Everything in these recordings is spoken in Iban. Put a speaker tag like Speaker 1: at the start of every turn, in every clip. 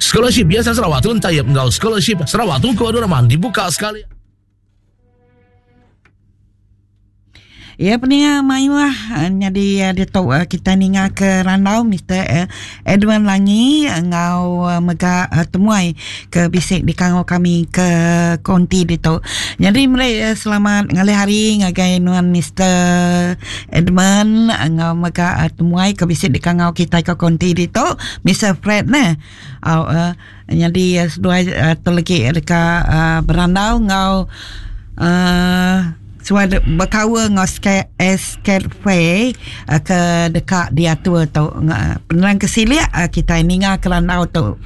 Speaker 1: Scholarship Yayasan Sarawak Tun Taib enggau Scholarship Sarawak Tunku Abdul Rahman dibuka sekali.
Speaker 2: Ya peninga mayuh eh, nyadi eh, ditu eh, kita ninga ke randau Mr. Edwin Langi enggau mega temuai ke bisi dikangau kami ke konti ditu. Nyadi meri selamat ngalih hari ngagai nuan Mr. Edmund enggau mega temuai ke bisi dikangau kitai ke konti ditu Mr. Fred neh. Au nyadi seduai tu legi deka berandau enggau uhh suah bekaul enggau SCATFE ke deka diatur tu. Penerang ke silik kitai ninga ke randau tu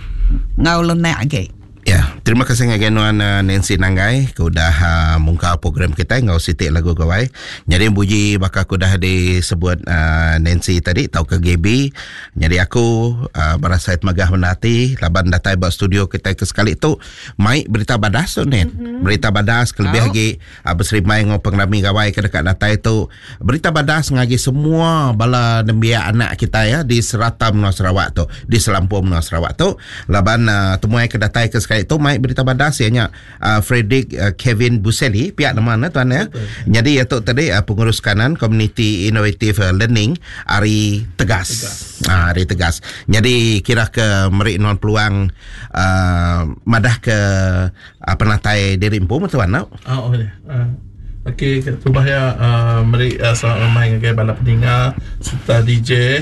Speaker 2: enggau lenak agi.
Speaker 3: Ya, terima kasih ngagai nuan eh, Nancy Nanggai ke udah uh, mungka program kita enggau siti lagu gawai. Jadi buji baka aku udah disebut uh, Nancy tadi tau ke GB. Jadi aku uh, berasa temegah bendar ati laban datai ba studio kita ke sekali tu mai berita badas tu Nen. Mm-hmm. Berita badas kelebih lagi uh, beserimbai enggau pengerami gawai ke dekat datai tu. Berita badas ngagi semua bala nembiak anak kita ya di serata menua Sarawak tu, di selampur menua Sarawak tu. Laban uh, temuai ke datai ke sekali tu mai berita badas iya nya uh, Frederick uh, Kevin Buseli pihak nama ne tuan ya. Jadi iya tu tadi uh, pengurus kanan Community Innovative uh, Learning ari Tegas. Tegas. Uh, ari Tegas. Jadi kira ke meri nuan peluang uh, madah ke uh, penatai diri empu tuan no.
Speaker 4: Oh, oh ya. Uh. Okey, terubah ya uh, meri uh, selamat lemai ngagai bala peninga serta DJ.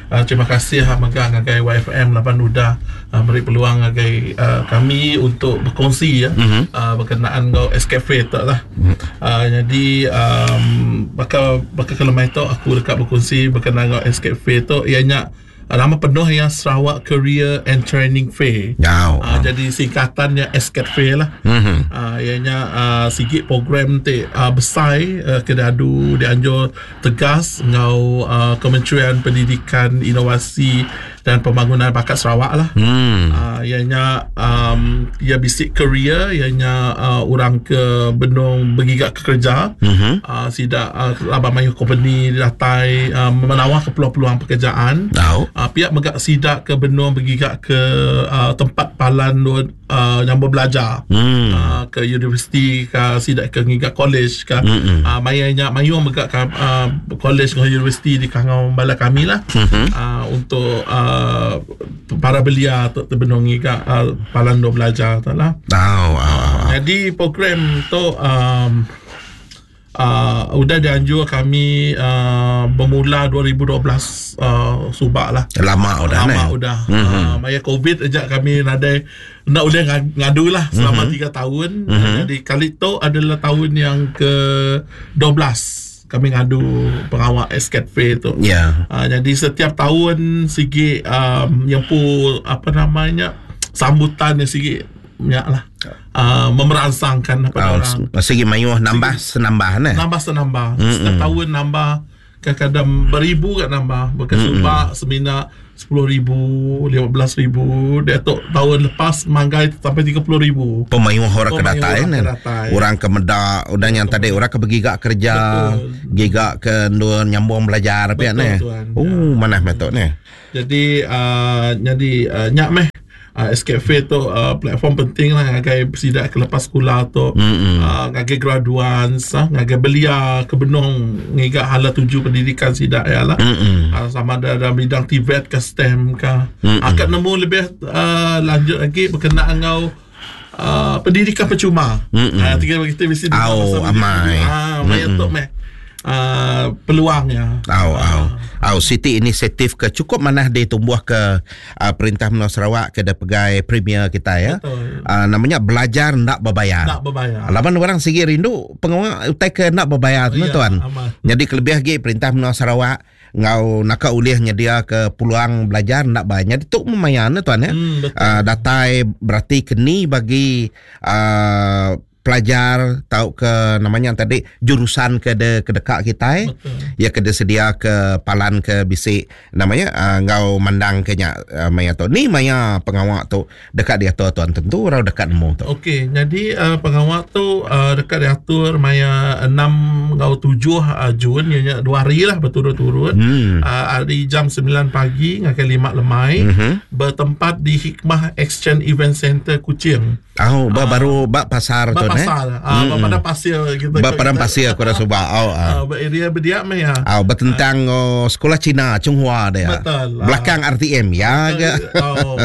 Speaker 4: Uh, terima kasih uh, mega ngagai YFM laban udah uh, meri peluang ngagai uh, kami untuk berkongsi ya mm-hmm. uh, berkenaan enggau SKF tu lah. Mm-hmm. Uh, jadi um, baka baka kelemai tu aku deka berkongsi berkenaan enggau SKF tu ianya Nama penuh iya Sarawak Career and Training Fair.
Speaker 3: Wow.
Speaker 4: Uh, jadi singkatannya SCAT Fair lah. Mm-hmm. Uh, ianya uh, sigi program ti uh, besar uh, ke diadu dianjur tegas enggau uh, Kementerian Pendidikan, Inovasi dan Pembangunan Bakat Sarawak lah.
Speaker 3: Mm.
Speaker 4: Uh, ianya um, ia bisi career ianya uh, orang ke benung begiga ke kerja.
Speaker 3: Mm-hmm.
Speaker 4: Uh, sida uh, laban mayuh kompeni datai uh, menawar ke peluang-peluang pekerjaan.
Speaker 3: Tau.
Speaker 4: Uh, pihak mega sida ke benung begiga ke uh, tempat palan uh, yang belajar.
Speaker 3: Hmm.
Speaker 4: Uh, ke universiti ke sida ke ngiga college ke.
Speaker 3: Mm-mm.
Speaker 4: Uh, maya nya mayuh mega ke uh, college dengan universiti di kangau bala kami lah.
Speaker 3: Mm-hmm.
Speaker 4: Uh, untuk uh, para belia tu benung ngiga uh, palan dua belajar tu lah.
Speaker 3: Tau. Uh,
Speaker 4: Jadi program tu um, uh, udah dianjur kami uh, bermula 2012 uh, subak lah.
Speaker 3: Lama udah
Speaker 4: Lama
Speaker 3: ne?
Speaker 4: udah.
Speaker 3: Mm-hmm.
Speaker 4: Uh, maya COVID aja kami nadai nak boleh ngadu lah selama
Speaker 3: mm-hmm.
Speaker 4: 3 tahun.
Speaker 3: Mm-hmm.
Speaker 4: Jadi kali tu adalah tahun yang ke-12 kami ngadu pengawal SCAT Fair tu.
Speaker 3: Ya.
Speaker 4: Uh, jadi setiap tahun sigi um, yang pu apa namanya sambutan yang sigi banyak lah. Uh, memerangsangkan apa
Speaker 3: Oh,
Speaker 4: orang.
Speaker 3: segi mayuh nambah senambah ne.
Speaker 4: Nambah senambah. Mm-hmm. Setiap tahun nambah kadang-kadang beribu kat nambah. Bukan mm-hmm. subak semina 10,000, 15,000. Dia tu tahun lepas manggai sampai 30,000.
Speaker 3: Pemayuh orang ke
Speaker 4: Pemayuh
Speaker 3: datai
Speaker 4: orang
Speaker 3: ne.
Speaker 4: ke datai.
Speaker 3: Orang ke medak, udah yang tadi orang ke bergiga kerja,
Speaker 4: Betul.
Speaker 3: giga ke ndur nyambung belajar
Speaker 4: Betul,
Speaker 3: pia ne.
Speaker 4: tuan.
Speaker 3: Oh, manah metok ne.
Speaker 4: Jadi uh, jadi uh, nyak meh uh, SKF tu uh, platform penting lah ngagai sidak ke lepas sekolah tu
Speaker 3: Mm-mm.
Speaker 4: uh, ngagai graduan uh, ngagai belia ke benung ngiga hala tuju pendidikan sidak ya lah
Speaker 3: Mm-mm.
Speaker 4: uh, sama ada dalam bidang TVET ke STEM ke akan nemu lebih uh, lanjut lagi berkenaan dengan uh, pendidikan percuma.
Speaker 3: Mm-mm.
Speaker 4: Uh, tiga kita mesti dengar
Speaker 3: Au,
Speaker 4: pasal
Speaker 3: amai.
Speaker 4: pendidikan. Ah, maya tu meh. Uh, peluangnya.
Speaker 3: Au, au. Au, siti inisiatif ke cukup manah ditumbuh ke uh, perintah Menua Sarawak ke da pegai premier kita ya.
Speaker 4: Betul.
Speaker 3: Uh, namanya belajar nak berbayar.
Speaker 4: Nak berbayar.
Speaker 3: Laban orang sigi rindu pengawal utai ke nak berbayar tu
Speaker 4: Ya,
Speaker 3: tuan.
Speaker 4: amat.
Speaker 3: Jadi kelebih lagi perintah Menua Sarawak ngau naka ulih nyedia ke peluang belajar nak bayar. Jadi tu memayan tuan ya.
Speaker 4: Hmm, betul.
Speaker 3: Uh, datai berarti keni bagi uh, pelajar tauka nama nya tadi jurusan ke de ke deka kitai. Ya ke disedia ke palan ke bisi nama nya uh, enggau mandang ke nya uh, maya tu. Ni maya pengawa tu deka diatur tuan tentu orang deka nemu tu.
Speaker 4: Okey, jadi uh, pengawa tu uh, deka diatur maya 6 enggau 7 uh, Jun iya nya dua hari lah berturut-turut. Hmm. Uh, hari jam 9 pagi ngagai 5 lemai mm-hmm. bertempat di Hikmah Exchange Event Center Kuching.
Speaker 3: Oh, ba baru ba pasar
Speaker 4: tu ne. Pasar. Ah, ba padang pasir
Speaker 3: gitu. Ba padang pasir aku rasa ba. Oh,
Speaker 4: ah. Ba area berdiak meh ya.
Speaker 3: Oh, bertentang oh, sekolah Cina Chunghua dia.
Speaker 4: Betul.
Speaker 3: Belakang RTM ya ke.
Speaker 4: Oh.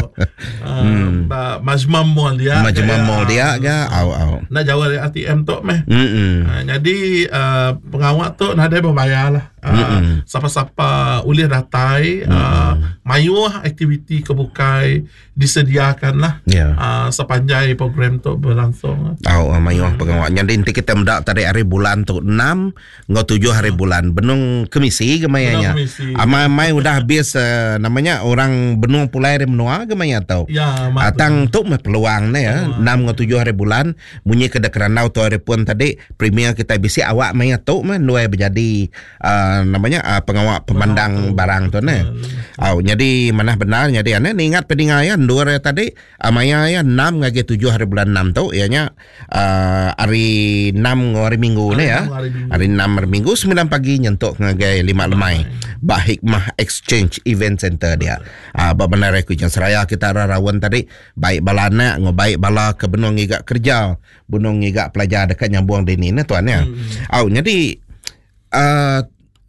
Speaker 4: Hmm. Ba Majma Mall dia.
Speaker 3: Majma Mall dia ke. Au au.
Speaker 4: Nak jauh dari RTM tu meh. Hmm. Jadi uh, pengawak tu nadai berbayar lah. Uh, siapa-siapa ulih datai uh, mayuh aktiviti ke bukai disediakan lah
Speaker 3: yeah.
Speaker 4: uh, sepanjai program tu berlangsung.
Speaker 3: Oh, uh, mayuh hmm. pengawa. Jadi nanti kita mendak tadi hari bulan tu 6 ngau 7 hari bulan benung kemisi ke mayanya. Amai-amai udah habis uh, namanya orang benung pulai dari menua ke maya tu.
Speaker 4: Ya,
Speaker 3: Atang tu meh peluang ne ya. 6 ngau 7 hari bulan munyi ke kerandau tu hari pun tadi premier kita bisi awak maya tu meh nuai berjadi uh, namanya uh, pengawa pemandang barang tu ne. Au jadi manah benar jadi ane ni ingat peninga ya ndur ya tadi uh, maya ya 6 ngagi 7 hari bulan 6 tu ianya uh, hari 6 ngau hari Minggu ne ya. Hari 6 hari Minggu 9 pagi nyentuk ngagai 5 lemai. Ba Hikmah Exchange Event Center dia. Uh, ba bandar Kuching Seraya kita rawan tadi baik bala anak ngau baik bala ke benung ngiga kerja benung ngiga pelajar dekat nyambung dini ne tuan ya. Hmm. Au jadi uh,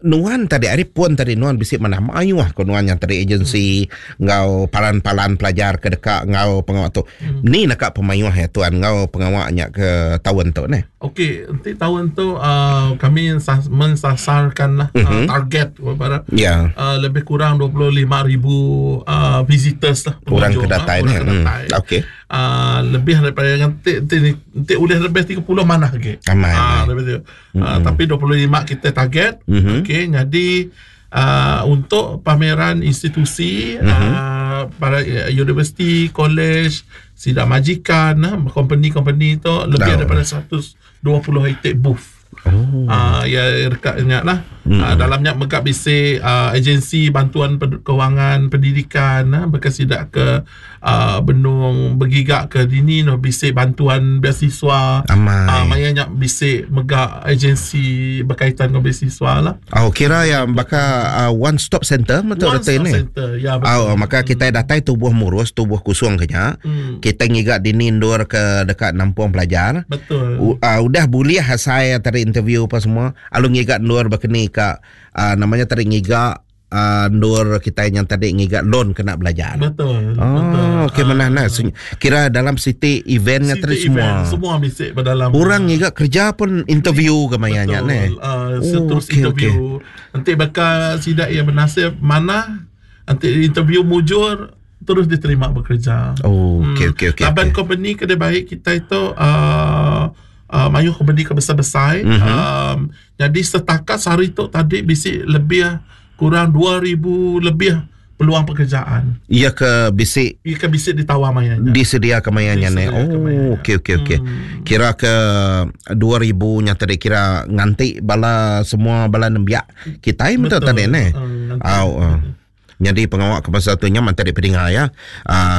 Speaker 3: nuan tadi hari pun tadi nuan bisi manah mayuh ko nuan yang tadi agensi hmm. ngau palan-palan pelajar ke dekat ngau pengawak tu. Hmm. Ni nak pemayuh ya tuan ngau pengawaknya ke tahun tu ne.
Speaker 4: Okey, nanti tahun tu uh, kami mensasarkan lah uh-huh. uh, target kepada
Speaker 3: yeah.
Speaker 4: uh, lebih kurang 25,000 uh, visitors lah.
Speaker 3: Orang ke datai ni. Hmm. Okey.
Speaker 4: Uh, lebih daripada nanti nanti, nanti boleh lebih 30 mana lagi.
Speaker 3: Amai.
Speaker 4: Ah, lebih tu. Mm-hmm. Uh, tapi 25 kita target. Mm-hmm. Okey, jadi uh, untuk pameran institusi mm-hmm. uh, para universiti, college, sidang majikan, company-company tu lebih daripada 120 itik booth.
Speaker 3: Oh.
Speaker 4: Ya dekat ingat lah. Mm. Dalamnya megak bisi uh, agensi bantuan kewangan pendidikan uh, berkesidak ke uh, benung bergigak ke dini no bisi bantuan beasiswa.
Speaker 3: Amai.
Speaker 4: Uh, mayanya bisi megak agensi berkaitan dengan beasiswa lah.
Speaker 3: Oh kira yang bakal uh, one stop center betul
Speaker 4: one stop
Speaker 3: ni.
Speaker 4: Center ya betul.
Speaker 3: Oh maka kita datai tubuh murus tubuh kusung kenya.
Speaker 4: Hmm.
Speaker 3: Kita ngigak dini ndur ke dekat nampung pelajar.
Speaker 4: Betul.
Speaker 3: Uh, udah boleh saya tadi interview apa semua alu ngigak ndur berkeni ka uh, namanya tadi ngigak uh, ndur kita yang tadi ngigak loan kena belajar.
Speaker 4: Betul.
Speaker 3: Oh,
Speaker 4: betul.
Speaker 3: Okey mana nah. Kira dalam city eventnya tadi semua.
Speaker 4: Semua bisik berdalam.
Speaker 3: Orang ngigak kerja pun interview ke mayanya ne.
Speaker 4: Uh, oh, terus okay, interview.
Speaker 3: Okay.
Speaker 4: Nanti bakal sidak yang bernasib mana nanti interview mujur terus diterima bekerja.
Speaker 3: Oh, okey okey okey.
Speaker 4: Laban
Speaker 3: okay.
Speaker 4: company kedai baik kita itu uh, mayu company ke besar-besar.
Speaker 3: Mm-hmm.
Speaker 4: Jadi setakat sehari tu tadi bisik lebih kurang 2000 lebih peluang pekerjaan.
Speaker 3: Ia ke bisik
Speaker 4: Ia ke bisik ditawar mayanya.
Speaker 3: Disedia ke mayanya ne. Oh, okey okey okey. Kira ke 2000 nya tadi kira nganti bala semua bala nembiak kita betul tadi ne. Au. Jadi pengawak ke pasal tu nya mantai di pedinga ya.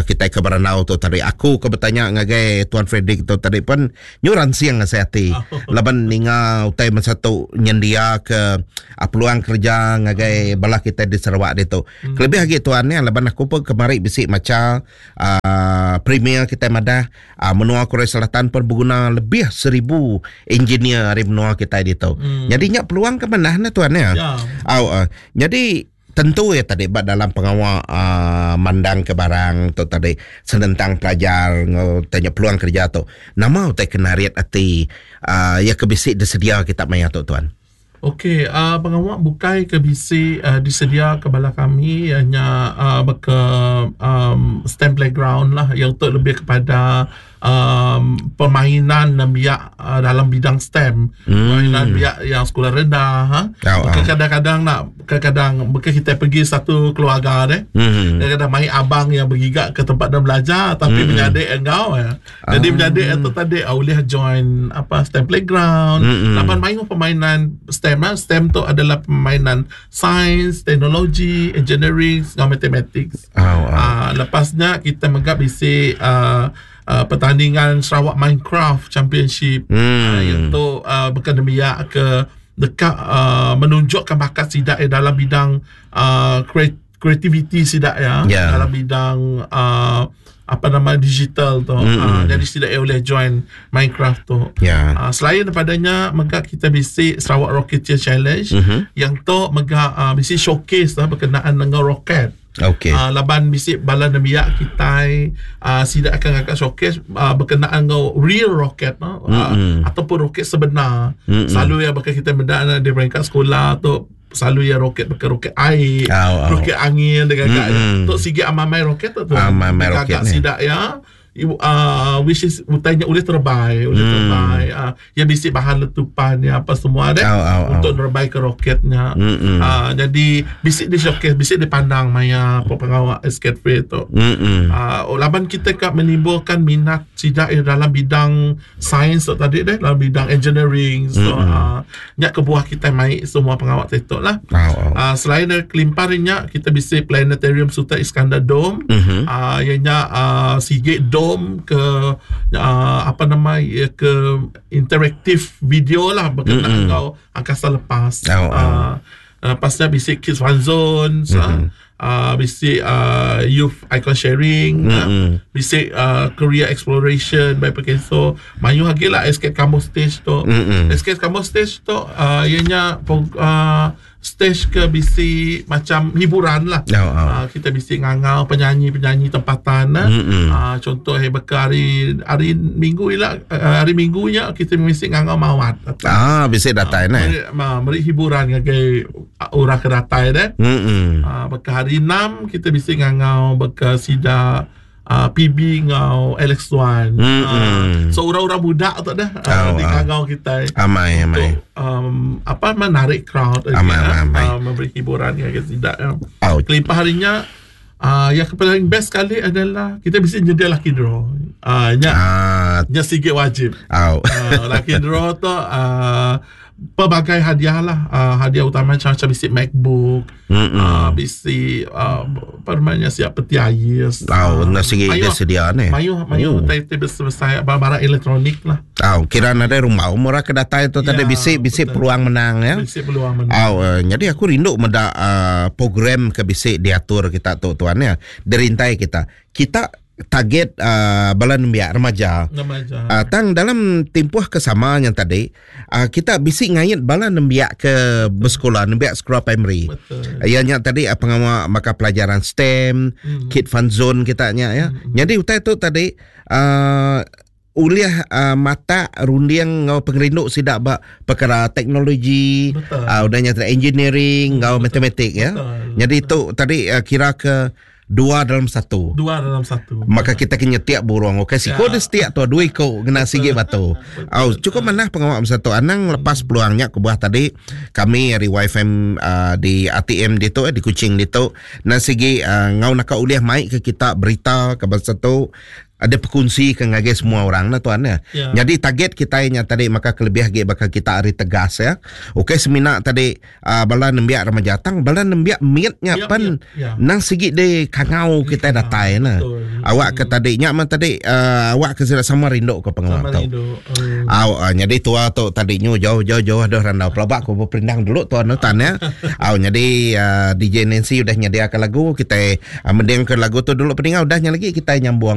Speaker 3: Kita ke Beranau tu tadi aku ke bertanya ngagai Tuan Frederick tu tadi pun nyuran siang saya hati. Laban ninga utai masa tu nyendia ke uh, peluang kerja ngagai bala kita di Sarawak dia tu. Kelebih lagi tuan ni laban aku pun kemari bisik maca uh, premier kita madah uh, menua Korea Selatan pun berguna lebih 1000 engineer dari menua kita dia tu. Jadi nya peluang ke mana na tuan ya.
Speaker 4: Ya.
Speaker 3: Au, jadi tentu ya tadi bak dalam pengawak uh, mandang ke barang tu tadi senentang pelajar ngau tanya peluang kerja tu nama utai kena riat ati uh, ya ke bisik disedia kita maya tu tuan.
Speaker 4: Okey, pengawa bukai ke bisi disedia ke bala kami iya nya baka STEM playground lah yang tu lebih kepada um permainan nembiak dalam bidang STEM. Permainan nembiak yang sekolah rendah ha. Baka kadang-kadang nak kadang-kadang baka kitai pergi satu keluarga deh. Kadang-kadang mai abang yang begiga ke tempat deh belajar tapi menyadi enggau iya. Jadi menyadi tu tadi ulih join apa STEM playground. Laban mayuh permainan STEM ah. STEM tu adalah permainan sains, teknologi, engineering enggau mathematics. Ah lepas nya kita mega bisi ah pertandingan Sarawak Minecraft Championship. Iaitu baka nembiak ke deka menunjukkan bakat sida dalam bidang kreativiti sida ya dalam bidang apa nama digital tu. Jadi sida ia boleh join Minecraft tu. Selain daripada nya mega kita bisi Sarawak Rocketeer Challenge yang tu mega bisi showcase lah berkenaan dengan roket. Laban bisi bala nembiak kitai sida akan ngaga showcase berkenaan enggau real roket no ataupun roket sebenar. Selalu iya baka kitai meda ne di peringkat sekula tu selalu iya roket baka roket ai, roket angin digaga iya. Tu sigi amai-amai roket tu tuan.
Speaker 3: Amai-amai roket
Speaker 4: Digaga sida iya which is utai nya ulih terebai, ulih terebai. Iya bisi bahan letupan iya apa semua deh untuk nerebai ke roket nya. Jadi bisi di showcase, bisi dipandang maya pengawa Escape Free tu. Laban kita ka menimbulkan minat sida iya dalam bidang sains tu tadi deh dalam bidang engineering so nya kebuah kitai mai semua pengawa ti tu lah. Selain dari kelimpah ari nya kita bisi planetarium Sultan Iskandar Dome iya nya sigi dome ke apa nama iya ke interaktif video lah berkenaan enggau angkasa lepas. Lepas nya bisi kids fun zone bisi youth icon sharing bisi career exploration by Perkeso mayuh agi lah SK Kampung stage tu. SK Kampung stage tu iya nya stage ke bisi macam hiburan lah. Kita bisi ngangau penyanyi-penyanyi tempatan contoh baka hari hari minggu ila hari minggu nya kita bisi ngangau mawat.
Speaker 3: Bisi datai neh.
Speaker 4: Meri hiburan ngagai Orang ke datai deh. Baka hari enam kita bisi ngangau baka sida PB enggau Alex Tuan. So orang-orang muda tu deh dikangau kitai.
Speaker 3: Amai amai.
Speaker 4: Untuk apa menarik crowd
Speaker 3: amai amai.
Speaker 4: Memberi hiburan ngagai sida. Kelimpah hari nya yang ke paling best sekali adalah kita bisi nyedia lucky draw. Nya nya sigi wajib. Lucky draw tu pelbagai hadiah lah. Hadiah utama macam macam bisi MacBook, bisi apa namanya siap peti ais.
Speaker 3: Oh, uh, sigi dia sedia ni.
Speaker 4: Mayuh mayuh oh. Tai besar barang elektronik lah.
Speaker 3: Oh, kira nadai rumah umur ke datai tu tadi ya, bisi bisi peluang menang ya.
Speaker 4: Bisi peluang menang.
Speaker 3: Oh, jadi aku rindu meda program ke bisi diatur kita tu tuan ya. Dirintai kita. Kita target bala nembiak remaja.
Speaker 4: Remaja.
Speaker 3: Tang dalam timpuh ke sama nya tadi kita bisi ngait bala nembiak ke besekula, nembiak sekula primary. Iya nya tadi pengawa maka pelajaran STEM, kid fun zone kita nya ya. Nyadi utai tu tadi ulih matak runding enggau pengerindu sida ba perkara teknologi, udah nya tadi engineering enggau matematik ya. Nyadi tu tadi kira ke dua dalam satu.
Speaker 4: Dua dalam satu.
Speaker 3: Maka kita ke nyetiak burung. Okey, siko dia setiak tu dua iko kena sigi batu. Au, cukup manah pengawa masa tu. Anang lepas peluang nya kebuah tadi kami ari YFM di ATM ditu di Kuching ditu nan sigi ngau naka ulih mai ke kita berita ke bansa tu ada pekunsi ke ngagai semua orang nah tuan ya.
Speaker 4: Ya.
Speaker 3: Jadi target kita nya tadi maka kelebih agi baka kita ari tegas ya. Okey semina tadi bala nembiak remaja tang bala nembiak mit nya
Speaker 4: Ya,
Speaker 3: pen
Speaker 4: ya, ya.
Speaker 3: nang sigi di kangau kita datai nah.
Speaker 4: Betul.
Speaker 3: Awak ke tadi nya mah tadi awak ke sida sama rindu ke pengawa
Speaker 4: Sama
Speaker 3: tu.
Speaker 4: rindu.
Speaker 3: Au jadi tua tu tadi nyu jauh jauh jauh dah randau pelaba ku beperindang dulu tuan tuan ya. Au jadi DJ Nancy udah nyediakan lagu kita mending ke lagu tu dulu peninga udah nya lagi kita nyambung.